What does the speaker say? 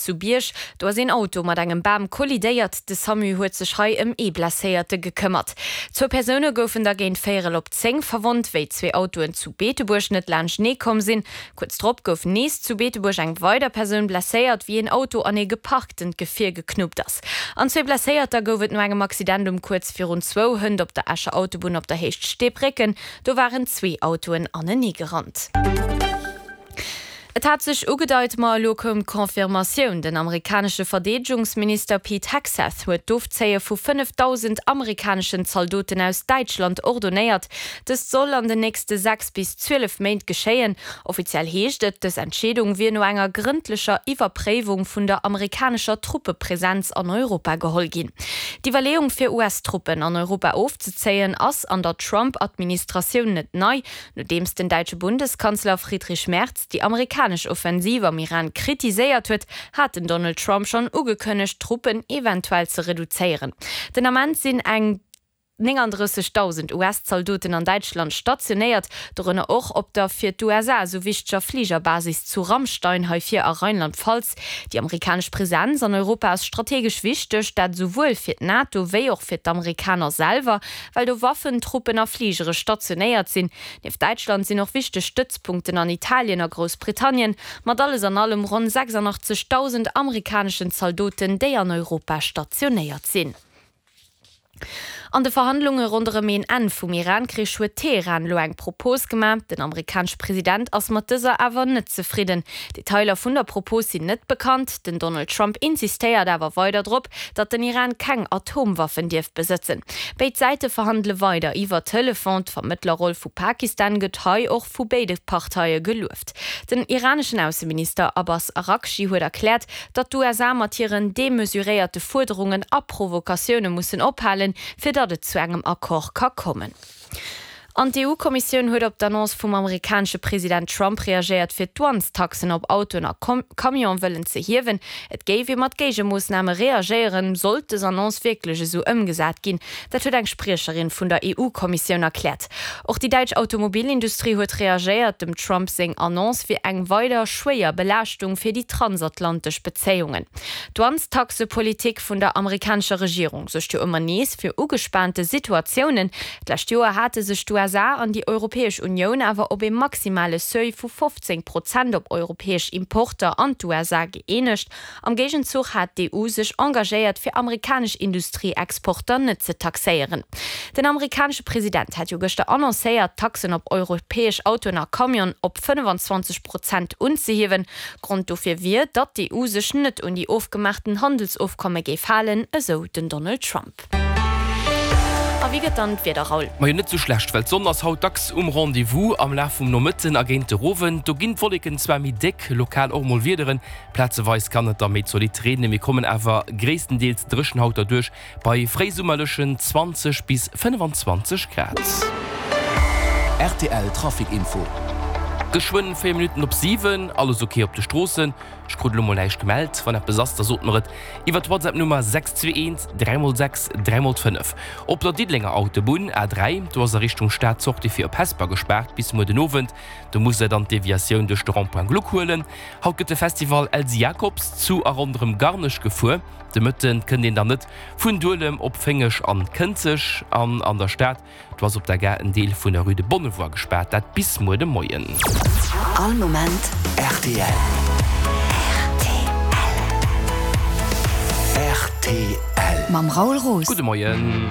Zu Bierg, do ass een Auto mat engem Bam kollidéiert. De Samu huet sech hei ëm ee Blesséierte gekëmmert. Zwou Persoune goufen da géint véierel op 10 verwonnt, wéi zwee Autoen zu Beetebuerg net laanschtenee komm sinn. Kuerz drop gouf nees zu Beetebuerg eng weider Persoun blesséiert, wéi een Auto an ee geparktent Gefier geknuppt ass. An zwee Blesséierter gouf et no engem Accident um kuerz virun zwou hënt op der Escher Autobunn op der Héicht Steebrécken. Do waren zwee Autoen aneneegerannt. Et hat sech ugedeit, ma elo koum d'Confirmatioun, Den amerikanesche Verdeedegungsminister Pete Hegseth huet d'Ofzéie vu 5.000 amerikaneschen Zaldoten aus Däitschland ordonéiert. Dëst soll an den nächste 6 bis 12 Méint geschéien. Offiziell heescht et, dës Entscheedung wier no enger grëndlecher Iwwerpréiwung vun der amerikanescher Truppepresenz an Europa geholl ginn. D'Iwwerleeung fir US-Truppen an Europa ofzezéien ass an der Trump-Administratioun net nei. Nodeems den däitsche Bundeskanzler Friedrich Merz déi amerikanesch Offensiv am Iran kritiséiert huet, hat den Donald Trump schonn ugekënnegt, d'Truppen eventuell ze reduzéieren. Den Ament sinn eng 39.000 US-Zaldoten an Däitschland stationéiert, dorënner och op der fir d'USA esou wichteger Fligerbasis zu Ramstein, hei vir a Rheinland-Pfalz. Déi amerikanesch Presenz an Europa ass strategesch wichteg, dat esouwuel fir d'NATO wéi och fir d'Amerikaner selwer. Well do Waffen, Truppen a Fligere stationéiert sinn. Nieft Däitschland sinn och wichteg Stëtzpunkten an Italien a Groussbritannien, mat alles an allem ronn 86.000 amerikaneschen Zaldoten, déi an Europa stationéiert sinn. An de Verhandlunge ronderëm een Enn vum Iran-Krich huet Teheran elo eng Propos gemaach. Den amerikanesche President ass mat dëser awer net zefridden. Detailer vun der Propos sinn net bekannt. Den Donald Trump insistéiert awer weider drop, datt den Iran keng Atomwaffen dierf besëtzen. Béid Säite verhandele weider iwwer Telefon. D'Vermëttlerroll vu Pakistan gëtt hei och vu béide Parteie gelueft. Den iraneschen Ausseminister Abbas Araghchi huet erkläert, datt d'USA mat hiren demesuréierte Fuerderungen a Provokatioune mussen ophalen, fir datt et zu engem Accord ka kommen. An d'EU-Kommissioun huet op d'Annonce vum amerikanesche President Trump reagéiert, fir d'Douanestaxen op Autoen a Camione wëllen ze hiewen. Et géif ee mat Géigemoossname reagéieren, sollt dës Annonce wierklech esou ëmgesat ginn. Dat huet eng Spriecherin vun der EU-Kommissioun erkläert. Och déi däitsch Automobilindustrie huet reagéiert. Dem Trump seng Annonce wier eng weider schwéier Belaaschtung fir déi transatlantesch Bezéiungen. D'Douanestaxepolitik vun der amerikanescher Regierung suergt jo ëmmer nees fir ugespaante Situatiounen. D'lescht Joer hate sech d'USA an déi Europäesch Unioun awer op ee maximale Seuil vu 15 Prozent op europäesch Importer an d'USA gëeenegt. Am Géigenzuch hat d'EU sech engagéiert, fir amerikanesch Industrieexporter net ze taxéieren. Den amerikanesche President hat jo gëschter annoncéiert, d'Taxen op europäesch Autoen a Camionen op 25 Prozent unzehiewen. Grond dofir wier, datt d'EU sech net un déi ofgemaachten Handelsofkomme géif halen, esou den Donald Trump. A wéi gëtt dann d'Wieder, Raoul? Majo net sou schlecht, well d'Sonn ass haut dacks um Rendez-vous. Am Laf vum Nomëtten a géint de Rowend, do ginn d'Wolleken zwar méi déck, lokal och mol Wiederen, plazeweis kann et da méi zolidd reenen, mir kommen awer gréisstendeels dréchen haut derduerch bei fréisummerlechen 20 bis 25 Grad. Rtl Trafic Info. Geschwënn 4 Minutten op 7, alles ok op de Stroossen. Ech krut elo mol näischt gemellt. Wann eppes ass, da sot mer et iwwer d'Whatsapp Nummer 621 3 x 6 3 x 5. Op der Diddelenger Autobunn, A3, do ass a Richtung Stad d'Sortie fir op Hesper gespaart bis muer den Owend. Do musst der dann d'Deviatioun duerch de Rond-point Gluck huelen. Haut gëtt de Festival Elsy Jacobs zu a ronderëm Garnech gefuer. De Mëtten kënnt een dann net vun Duelem op Féngeg an Kënzeg an an der Stad. Do ass op der Gare en Deel vun der Rue de Bonnevoie gespaart, dat bis muer de Moien. All Moment rtl. Rtl. Mam Raoul Roos. Gudde Moien.